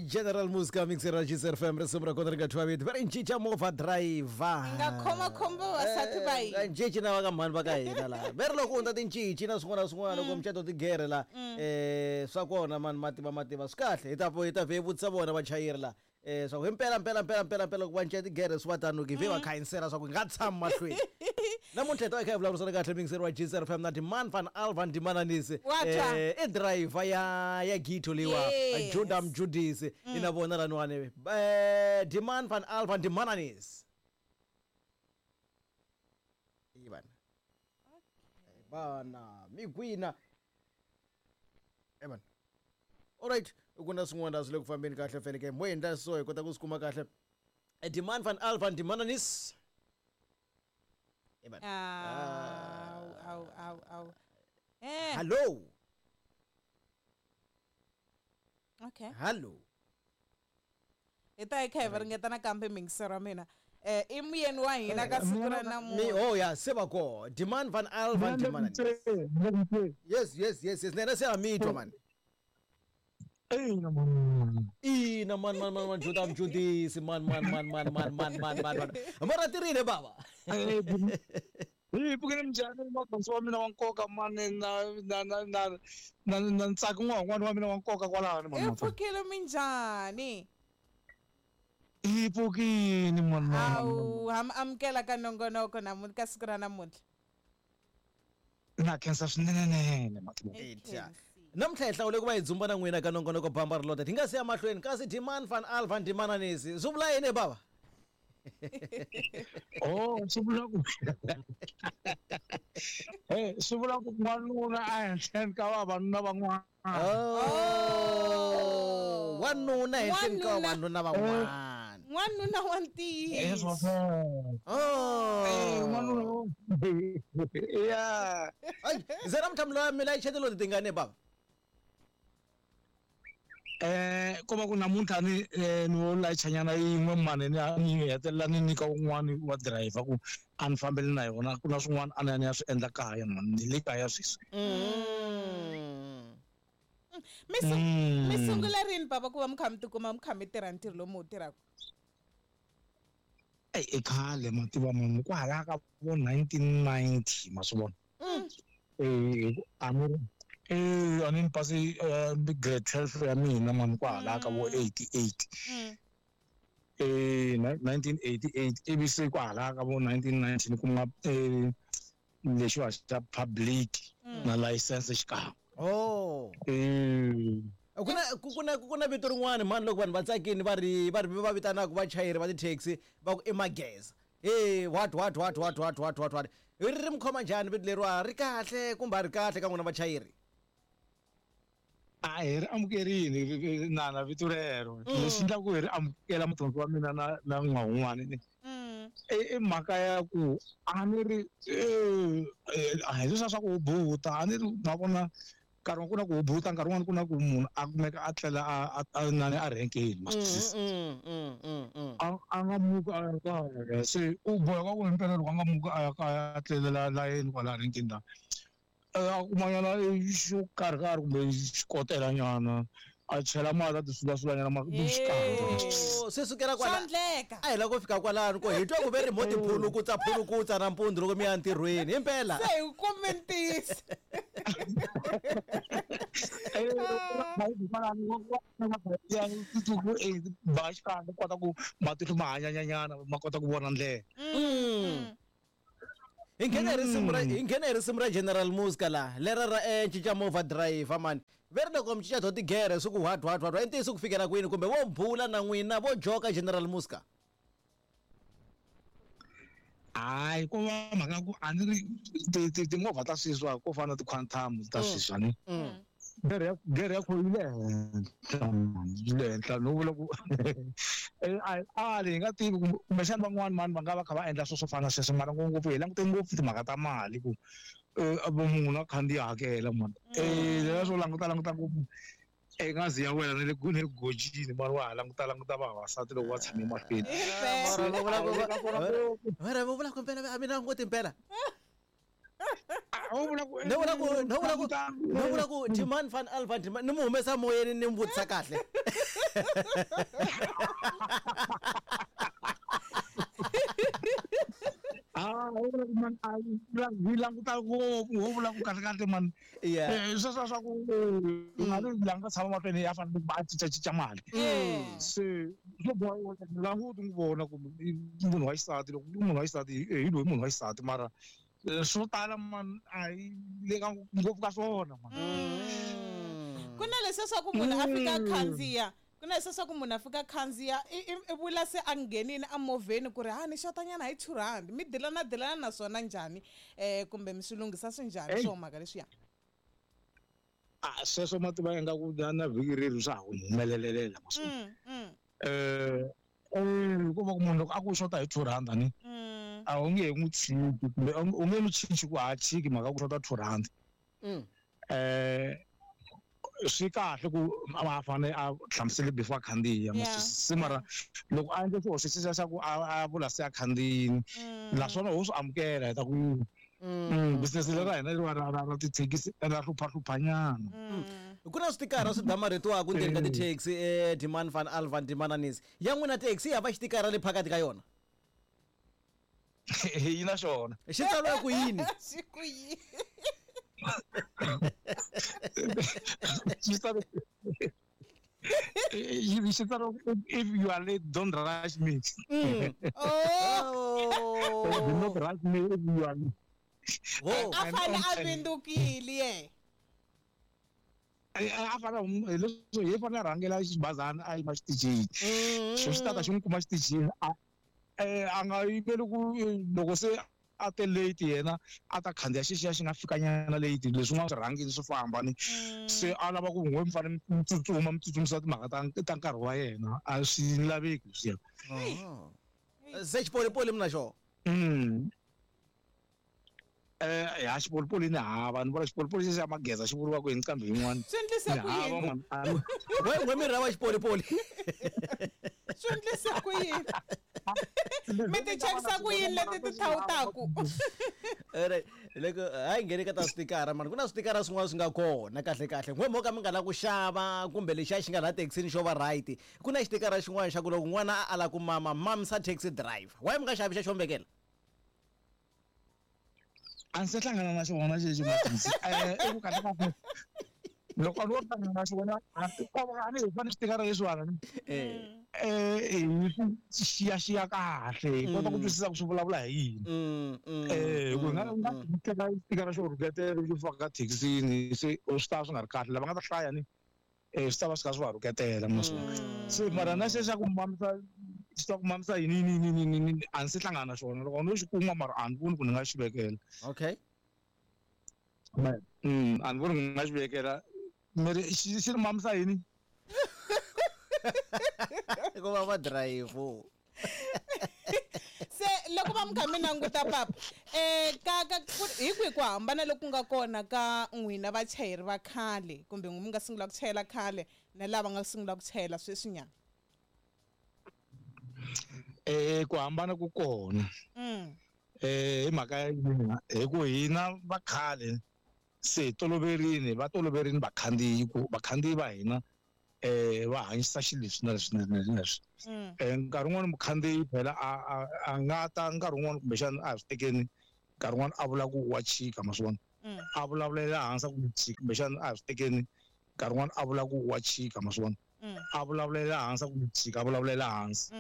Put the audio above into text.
General Muska mixer ra Gzer FM, risimu ra kona ri nga thyiwa vito va ri Ncinca Movha Driver. Hi nga khoma khombo vavasati va hina. Ncinci na va ka mhani va ka hina laha ve ri loko u hundza tincinci na swin'wana na swin'wana loko mucato tigere la swa kona mani mativa mativa swi kahle hi ta hi ta vhe hi vutisa vona vachayeri la swa ku himpela mpela mpela mpela mpela loko va cinca tigere swi va tano ke vhe va khayisela swa ku hi nga tshami mahlweni. Namuntlha hi ta va hi kha hi vulavurisana kahle muyingiseri wa Gzer FM na Demand van Alvan Dimananisi. Wa twa. I driver ya Gito leyiwa. Yes. Judah Mjudisi. I na vona laniwani. Demand van Alvan Dimananisi. I vana. Vana migwina. Evan. Alright, ku na swin'wana swi le ku fambeni kahle fele ke mo endla so hi kota ku swi kuma kahle. Demand van Alvan Dimananis. Evan. Aw, aw, aw, aw. Hello. Okay. Hello. Hi ta hi kha hi va ringeta nakambe muyingiseri wa mina. I muyeni wa hina ka siku ra Mi namuntlha. oh ya se va ko. Demand van Alvan Dimananis. Yes, yes, yes, yes. Nena se a mitwa man. Ina man. Ina man man man man Judah Mjudisi man man man man man man man man man. Mara tirhile baba. Hi pfukile minjhani magondzo wa mina wa nkoka mani na na na na na na ntsako n'wana wa mina wa nkoka kwalano Hi pfukile minjhani? Hi pfukile mani. Awu, ha mi amukela ka nongonoko namuntlha ka siku ra namuntlha. Na khensa swinene Matlou. Namuntlha hi hlawule ku va hi dzumba na n'wina ka nongonoko Bamba Ri Lota. Hi nga si ya mahlweni kasi Demand van Alvan Dimananisi swi vula yini baba? Oh, swi vula ku swi vula ku n'wanuna a henhleni ka vavanuna van'wana. Oh, wanuna henhleni ka vavanuna van'wana. N'wanuna wa ntiyiso. Oh. N'wanuna. Yeah. Ay, ze namuntlha mi la mi layicha tilodi tingani baba? Ko va ku namuntlha ni ni wo layichanyana yin'we mani ni hetelela ni nyika un'wani wa driver ku a ni fambeli na yona, ku na swin'wana a ni ya ni ya swi endla kaya mani, ni le kaya sweswi. Mi sungula rini baba ku va mi kha mi tikuma mi kha mi tirha ntirho lowu mi wu tirhaka? I khale mativa munhu kwalaya ka vo 1990 ma swi vona. A ni a ni pasi grade 12 ya mina mani kwalaya ka vo 88. 1988 ivi se kwalaya ka vo 1990 ni kuma lexiwa xa public na license xikan'we. Oh. Ku na vito rin'wana mani loko vanhu va tsakini va ri va ri va vitanaka vachayeri va ti-taxi va ku i mageza. Hey, what what what what what what what what. Ri ri mi khoma njhani vito leriwa, ri kahle kumbe a ri kahle ka n'wina vachayeri? A hi ri amukerini na vito rero. Lexi endlaku hi ri amukela mudyondzi wa mina na na n'wana ni. I mhaka ya ku a ni ri a hi leswiya swa ku hubuta, a ni ri ma vona nkarhi ku na ku hubuta, nkarhi wun'wani ku na ku munhu a kumeka a tlela a nani a rhenkeni ma swi twisisa. A nga muki a ya kaya, se u boheka ku himpela loko a nga muki a ya kaya a tlelela layeni kwala rhenkeni la, a kumanyana xo karhi karhi kumbe xikotela nyana a chela mati a ti sulasulanyana xikan'we. Se sukela kwala Swa a hi lava ku fika kwalano ko hi twa ku ve ri mo tiphulukutsa phulukutsa nampundzu loko mi ya ntirhweni himpela. Se hi kume ntiyiso. Ba xikan'we kota ku matihlo ma hanyanyanyana ma kota ku vona ndlela. Hi nghena hi risimu ra hi nghena hi risimu ra General Muska la lera ra cinca movha driver mani ve ri loko mi cinca to tigere swi ku what what what i ntiyiso ku fikela kwini kumbe vo bula na n'wina vo joka General Muska? Hayi, ko va mhaka ku a ni ri timovha ta sweswi ko fana na ti-Quantum ta sweswi ni. Gere ya kho yi le henhla, yi le henhla no vula ku a hi nga tivi kumbexana van'wani mani va nga va kha va endla swilo swo fana na sweswo, mara ngopfungopfu hi langute ngopfu timhaka ta mali ku munhu a khandziya hakela mani. Leswiya swo languta languta ngopfu ngazi ya wena ni le gojini mara wa ha languta languta vavasati loko va tshame mahlweni. Mara vo vula ku mpela a mi languti mpela. No vula ku Demand van Alvan Demand ni mu humesa moyeni ni mu vutisa kahle. Ah, man a yi languta ngopfu ho vula ku kahle kahle man. Sweswo swa ku mali la nga tshama mahlweni ya fanele ku va a cincacinca mali. Se swo boha languti n'wi vona ku munhu wa xisati, loko i munhu wa xisati hi loyi munhu wa xisati, mara swo tala man a hi le ka ngopfu ka swona man. Ku na leswiya swa ku munhu a fika a khandziya, ku na leswiya swa ku munhu a fika a khandziya i vula se a nghenini emovheni ku ri ha ni xotanyana hi 2 rand, mi dilana dilana na swona njhani, kumbe mi swi lunghisa swi njhani swo mhaka leswiya? A sweswo ma tiva ingaku na vhiki reri swa ha ku humelelelela masiku. Hikuva ku munhu loko a ku xota hi 2 rand ni a wu nge n'wi tshiki, kumbe u nge n'wi cinci ku ha tshiki mhaka ku xota 2 rand. Swi kahle ku a fanele a hlamusele before a khandziya, se mara loko a endle xihoxo xexiya xa ku a vula se a khandziyini, naswona ho swi amukela hi ta ku business leri ra hina leri ra tithekisi ra hluphahlupha nyana. Ku na switikara swi damarhetiwaka ndzeni ka tithekisi, demand van alvan demananis ya n'wina taxi yi hava xitikara le phakathi ka yona? Yi na xona. Xi tsariwa ku yini? Xi ku yini? Xi tsariwa if you are late, don't rush me. Oh. Do not rush me if you are late. A fane a vindukile ye. A fane hi leswo hi fanele a rhangela xibazana a yima xitichini. Xo xi tata xi n'wi kuma xitichini, a nga yimeli ku loko se a te late yena a ta khandziya xexiya xi nga fikanyana late, leswin'wana swi rhangile swi famba ni. Se a lava ku n'we mi fanele mi tsutsuma mi tsutsumisa timhaka ta nkarhi wa yena, a swi laveki leswiya. Se xipolipoli mi na xona? Ya xipolipoli ni hava, ni vona xipolipoli xexi xa mageza xi vuriwaka hi nqambi yin'wana. Swi endlise ku yini? N'we mi rhava xipolipoli. Swi endlise ku yini? Mi ti chekisa ku yini leti ti thawutaku? Loko hayi ngheni ka ta switikara mani, ku na switikara swin'wana swi nga kona kahle kahle. N'we mo ka mi nga la ku xava kumbe lexiya xi nga la thekisini xo va right, ku na xitikara xin'wana xa ku loko n'wana a ala ku mama, mamisa taxi driver. Why mi nga xavi xa xo vekela? A ndzi se hlangana na xona xexi Mathonsi. I ku kahle kahle loko a no hlangana na xona, a ni hi fanele switikara leswiwani. Hi swi xiyaxiya kahle, hi kota ku twisisa ku swi vulavula hi yini. Ku nga nga teka xitikara xo rhuketela xo faka thekisini, se swi ta va swi nga ri kahle. Lava nga ta hlaya ni swi ta va swi kha swi va rhuketela maswona. Se mara na xexa ku mamisa, xi ta ku mamisa yini, yini, yini, yini, yini, a ndzi se hlangana na xona. Loko no xi kuma mara a ni voni ku ni nga xi vekela. A ni voni ku ni nga xi vekela. Miri xi ri mamisa yini? Ku va va drive. Se loko va mi kha mi languta papa, ka ka hi kwihi ku hambana loku nga kona ka n'wina vachayeri va khale kumbe n'wi mi nga sungula ku chayela khale na lava nga sungula ku chayela sweswinyana? Ku hambana ku kona. Hi mhaka ya yini? Hi ku hina va khale se toloverini, va toloverini vakhandziyi, ku vakhandziyi va hina va hanyisa xilo leswi na leswi na leswi na leswi. Nkarhi wun'wani mukhandziyi phela a nga ta nkarhi wun'wani kumbexana a hi swi tekeni, nkarhi wun'wani a vula ku wa chika, ma swi vona? A vulavulela hansi a ku chika, kumbexana a hi swi tekeni, nkarhi wun'wani a vula ku wa chika, ma swi vona? A vulavulela hansi a ku chika, a vulavulela hansi.